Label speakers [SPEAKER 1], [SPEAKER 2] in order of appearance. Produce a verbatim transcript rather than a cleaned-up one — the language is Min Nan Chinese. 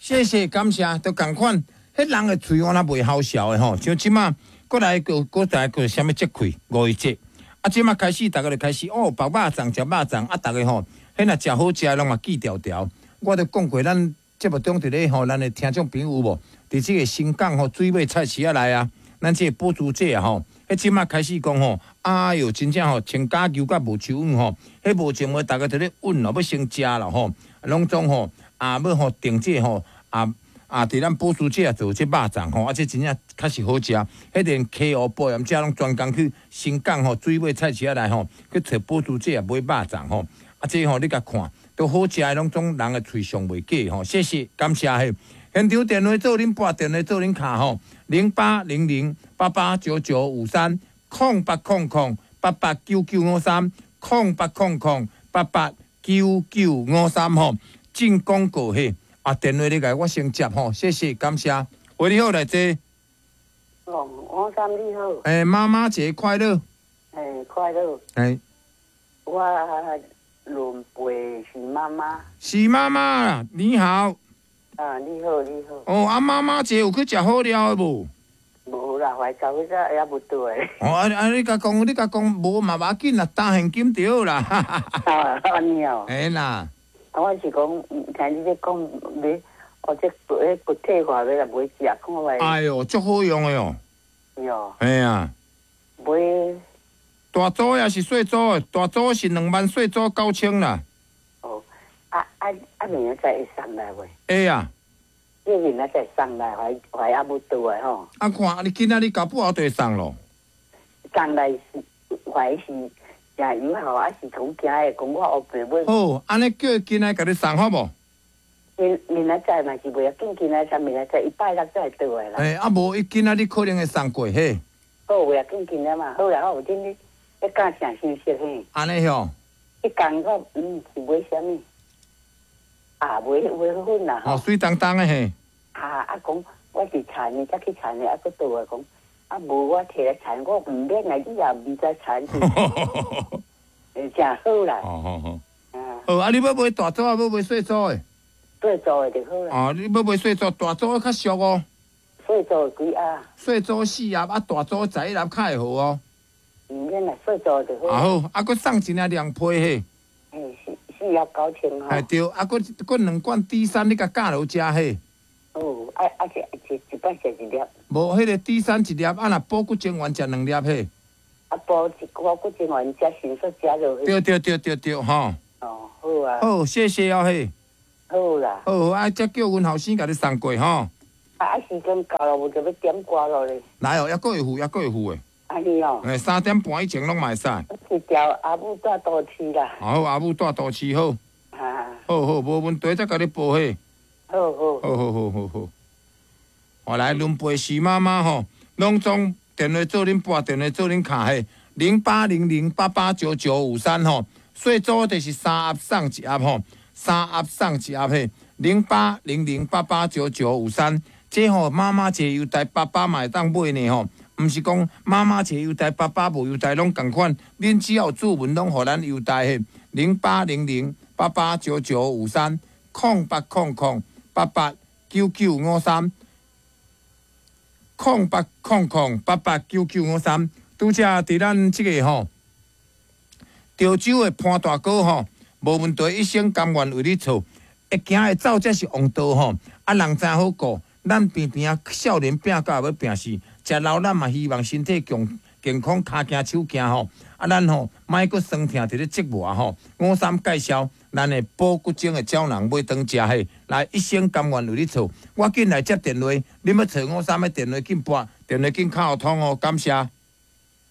[SPEAKER 1] 謝謝感謝，都仝款。彼人的喙我若袂好笑的吼，像這馬閣來閣閣來閣啥物節氣五一節，啊，這馬開始逐家就開始哦，腹肉粽食肉粽，啊，逐家吼，彼若食好食的攏嘛記牢牢。我著講過，咱節目中佇咧吼，咱的聽眾朋友有無？佇這個新港吼水尾菜市仔內啊，咱這個寶珠姐啊吼，彼這馬開始講吼，哎喲，真正吼，穿假牛佮無手腕吼，彼無情話，逐家佇咧問哦，欲先食啦吼，攏總吼啊，欲吼訂這吼啊啊，佇咱寶珠姐啊做這肉粽吼，啊，這真正確實好食。彼連溪湖埔鹽遮攏專工去新港吼水尾菜市仔內吼去揣寶珠姐啊買肉粽吼，啊，這吼你共看，都好食的，攏總人的喙上袂假吼。謝謝，感謝嘿。現場電話做恁撥電話做恁敲吼，零八零零八八九九五三，空八空空八八九九五三，空八空空八八九九五三吼。進廣告嘿，啊，電話你共我先接吼，謝謝，感謝。喂，你好，來坐。
[SPEAKER 2] 哦，黃三你好。
[SPEAKER 1] 欸，媽媽節快樂。
[SPEAKER 2] 欸，快樂。
[SPEAKER 1] 欸。
[SPEAKER 2] 我輪輩是媽媽。
[SPEAKER 1] 是媽媽，你好。
[SPEAKER 2] 啊，你好，你好。
[SPEAKER 1] 哦，啊，媽媽節有去食好料的無？
[SPEAKER 2] 無啦，懷到彼陣猶無倒來。
[SPEAKER 1] 哦，啊啊！你共講，你共講，無嘛無要緊啦，擔現金就好啦。
[SPEAKER 2] 啊，按呢哦。
[SPEAKER 1] 嘿啦。
[SPEAKER 2] 啊，我是講，聽你咧講買，哦，這彼骨退化欲來買食，看覓。
[SPEAKER 1] 哎喲，足好用的哦。
[SPEAKER 2] 喲。
[SPEAKER 1] 嘿啊。
[SPEAKER 2] 買。
[SPEAKER 1] 大組抑是細組的？大組是兩萬，細組九千啦。
[SPEAKER 2] 哦，啊啊啊！明仔載會送來袂？
[SPEAKER 1] 會啊。
[SPEAKER 2] 你明仔載送來，還還猶無倒來吼？
[SPEAKER 1] 啊，看你今仔日搞不好就會送咯。
[SPEAKER 2] 送來是還是誠有效，還是講驚的？講我烏白買。
[SPEAKER 1] 好，按呢叫伊今仔共你送好無？
[SPEAKER 2] 明明仔載嘛是袂要緊，今仔載明仔載伊拜六才會倒來啦。
[SPEAKER 1] 欸，啊無伊今仔日可能會送過嘿。
[SPEAKER 2] 好，袂要緊今仔嘛，好啦好，恁你你講啥信息嘿？
[SPEAKER 1] 按呢吼。
[SPEAKER 2] 彼工我嗯是買啥物？啊，買買粉啦。
[SPEAKER 1] 哦，水當當的嘿。
[SPEAKER 2] 啊啊，講我是田的，才去田的，啊，閣倒來講，啊，無我提來田，我毋免來，你也毋知田是。欸，誠好啦。
[SPEAKER 1] 哦好好。
[SPEAKER 2] 啊。
[SPEAKER 1] 好，啊，你欲買大組啊，欲買細組的？
[SPEAKER 2] 細組的就好啦。
[SPEAKER 1] 哦，你欲買細組，大組較俗哦。
[SPEAKER 2] 細組幾盒？
[SPEAKER 1] 細組四盒，啊，大組十一盒較會好哦。
[SPEAKER 2] 毋免啦，細組就好。
[SPEAKER 1] 啊好，啊，閣送一領涼皮嘿。
[SPEAKER 2] 嘿，四四盒九千吼。
[SPEAKER 1] 嘿對，啊，閣閣兩罐 D 三，你共加落食嘿。
[SPEAKER 2] 哦，啊啊，一一一擺食一粒。
[SPEAKER 1] 無，彼個 D 三一粒，啊，若補骨精丸食兩粒嘿。
[SPEAKER 2] 啊，補一補骨精丸食迅速食落去。
[SPEAKER 1] 對對對對對，吼。
[SPEAKER 2] 哦，好啊。
[SPEAKER 1] 好，謝謝哦嘿。
[SPEAKER 2] 好啦。
[SPEAKER 1] 好，啊，才叫阮後生共你送過吼。
[SPEAKER 2] 啊啊，時間到了，無就欲點歌囉咧。
[SPEAKER 1] 來哦，猶閣會赴，猶閣會赴的。
[SPEAKER 2] 按呢哦。
[SPEAKER 1] 欸，三點半以前攏嘛會使。
[SPEAKER 2] 是調阿母蹛都市啦。
[SPEAKER 1] 好，阿母蹛都市好。
[SPEAKER 2] 啊。
[SPEAKER 1] 好好，無問題，再共你報嘿。
[SPEAKER 2] 好好。
[SPEAKER 1] 好好好好好。我來輪陪徐媽媽吼，攏總電話做恁撥，電話做恁敲嘿，零八零零八八九九五三吼，細組就是三盒送一盒吼，三盒送一盒嘿，零八零零八八九九五三，這吼媽媽節優待，爸爸嘛會當買呢吼，毋是講媽媽節優待，爸爸無優待攏仝款，恁只要有注文攏予咱優待嘿，零八零零八八九九五三，空八空空八八九九五三。空八空空八八九九五三，拄才佇咱這個吼，潮州的潘大哥吼，無問題，一生甘願為你做，會行會走才是王道吼。啊，人知好顧，咱平平啊，少年拚到欲拚死，食老咱嘛希望身體強健康，跤行手行吼。啊，咱吼莫閣酸痛佇咧折磨吼。五三介紹咱的補骨精的膠囊買轉食嘿，來一生甘願為你做。我緊來接電話，恁欲揣五三的電話緊撥，電話緊敲通哦，感謝。